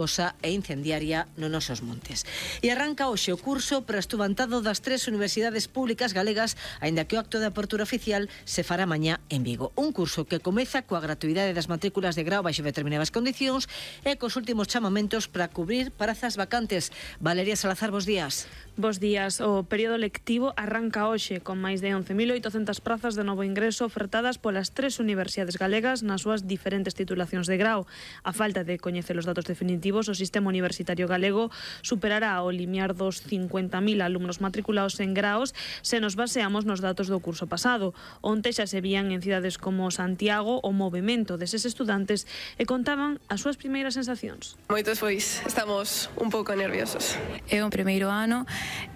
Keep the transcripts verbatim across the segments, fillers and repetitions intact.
osa e incendiaria nos nosos montes. E arranca hoxe o curso para estudantado das tres universidades públicas galegas, aínda que o acto de apertura oficial se fará mañá en Vigo. Un curso que comeza coa gratuidade das matrículas de grao baixo determinadas condicións e cos últimos chamamentos para cubrir prazas vacantes. Valeria Salazar, bos días. Bos días. O período lectivo arranca hoxe con máis de once mil oitocentas prazas de novo ingreso ofertadas polas tres universidades galegas nas súas diferentes titulacións de grao. A falta de coñecer os datos definitivos, o sistema universitario galego superará o limiar dos cincuenta mil alumnos matriculados en graos se nos baseamos nos datos do curso pasado. Onte xa se vían en cidades como Santiago o movimento deses estudantes e contaban as súas primeiras sensacións. Moitos pois estamos un pouco nerviosos. É o primeiro ano,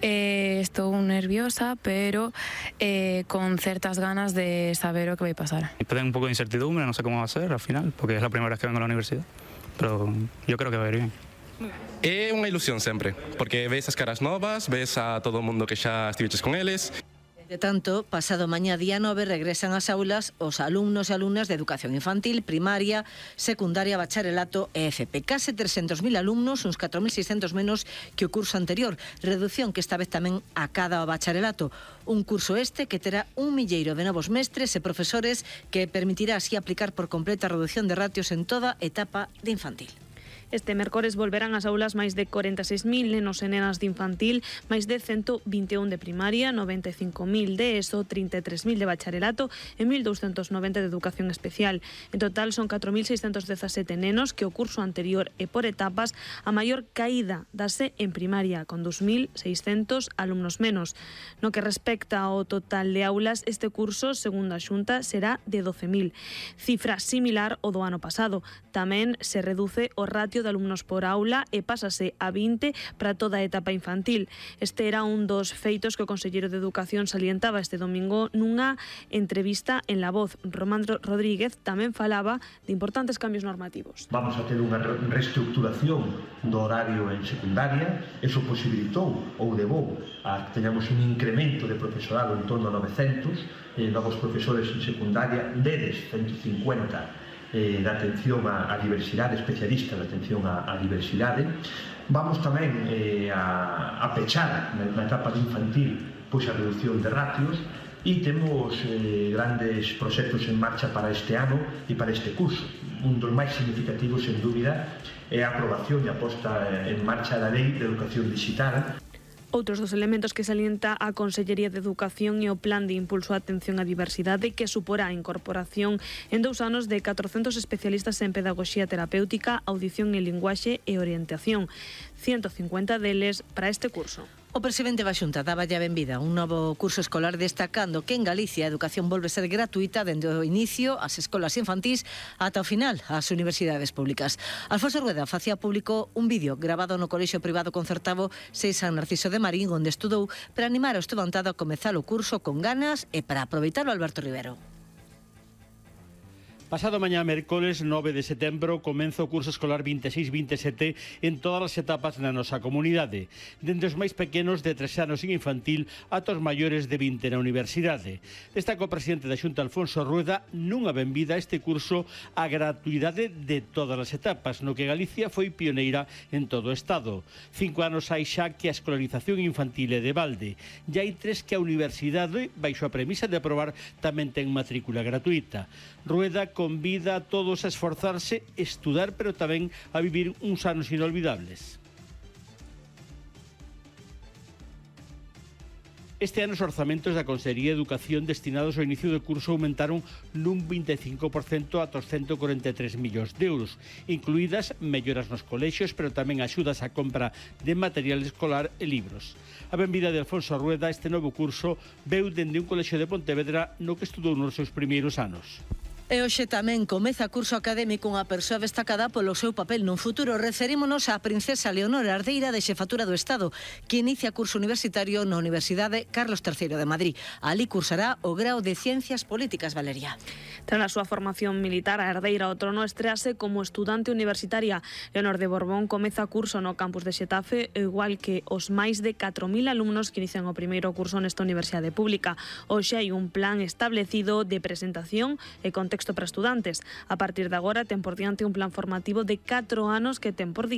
eh, estou nerviosa, pero eh, con certas ganas de saber o que vai pasar. Tengo un pouco de incertidumbre, non sei como va a ser al final, porque é a primeira vez que vengo a la universidad. Pero yo creo que va a ir bien. É unha ilusión sempre, porque ves as caras novas, ves a todo o mundo que xa estiveches con eles. De tanto, pasado mañá día nove regresan ás aulas os alumnos e alumnas de educación infantil, primaria, secundaria, bacharelato e F P. Case trescentos mil alumnos, uns catro mil seiscentos menos que o curso anterior. Reducción que esta vez tamén acada ao bacharelato. Un curso este que terá un milleiro de novos mestres e profesores que permitirá así aplicar por completa a reducción de ratios en toda etapa de infantil. Este mércores volverán ás aulas máis de corenta e seis mil nenos e nenas de infantil, máis de ciento vinte e un de primaria, noventa e cinco mil de ESO, trinta e tres mil de bacharelato e mil douscentos noventa de educación especial. En total son catro mil seiscentos dezasete nenos que o curso anterior e por etapas a maior caída dase en primaria, con dous mil seiscentos alumnos menos. No que respecta ao total de aulas, este curso, segundo a Xunta, será de doce mil. Cifra similar ao do ano pasado. Tamén se reduce o ratio de alumnos por aula e pásase a vinte para toda a etapa infantil. Este era un dos feitos que o conselleiro de Educación salientaba este domingo nunha entrevista en La Voz. Román Rodríguez tamén falaba de importantes cambios normativos. Vamos a ter unha reestructuración do horario en secundaria. Eso posibilitou ou levou a que teñamos un incremento de profesorado en torno a novecentos eh, novos profesores en secundaria, deles ciento cincuenta Eh, da atención á, á diversidade, especialistas da atención á, á diversidade. Vamos tamén eh, a, a pechar na, na etapa de infantil pois a reducción de ratios e temos eh, grandes proxectos en marcha para este ano e para este curso. Un dos máis significativos, sen dúbida, é a aprobación e a posta en marcha da Lei de Educación Digital. Outros dos elementos que salienta a Consellería de Educación e o Plan de Impulso á Atención á Diversidade, que suporá a incorporación en dous anos de catrocentos especialistas en pedagogía terapéutica, audición e linguaxe e orientación, ciento cincuenta deles para este curso. O presidente da Xunta daba a benvida a un novo curso escolar, destacando que en Galicia a educación volve a ser gratuita dende o inicio ás escolas infantís ata o final ás universidades públicas. Alfonso Rueda facía público un vídeo grabado no Colexio Privado Concertado seis San Narciso de Marín, onde estudou para animar ao estudantado a comezar o curso con ganas e para aproveitar o Alberto Rivero. Pasado mañá, mércoles nove de setembro, comeza o curso escolar vinte e seis vinte e sete en todas as etapas na nosa comunidade, dende os máis pequenos de tres anos en infantil ata os maiores de vinte na universidade. Destaca o presidente da Xunta, Alfonso Rueda, nunha benvida a este curso a gratuidade de todas as etapas, no que Galicia foi pioneira en todo o Estado. Cinco anos hai xa que a escolarización infantil é de balde. E hai tres que a universidade, baixo a premisa de aprobar, tamén ten matrícula gratuita. Rueda convida a todos a esforzarse, estudar, pero tamén a vivir uns anos inolvidables. Este ano os orzamentos da Consellería de Educación destinados ao inicio do curso aumentaron nun vinte e cinco por cento ata os ciento corenta e tres millóns de euros, incluídas melloras nos colexios, pero tamén axudas á compra de material escolar e libros. A benvida de Alfonso Rueda a este novo curso veu dende un colexio de Pontevedra no que estudou nos seus primeiros anos. E hoxe tamén comeza curso académico unha persoa destacada polo seu papel nun futuro. Referímonos á princesa Leonor Ardeira de Xefatura do Estado, que inicia curso universitario na Universidade Carlos terceiro de Madrid. Alí cursará o grao de Ciencias Políticas, Valeria. Tras a súa formación militar, a herdeira ao trono estrease como estudante universitaria. Leonor de Borbón comeza curso no campus de Xetafe, igual que os máis de catro mil alumnos que inician o primeiro curso nesta universidade pública. Hoxe hai un plan establecido de presentación e contexto texto para estudantes. A partir de agora ten por diante un plan formativo de catro anos que ten por diante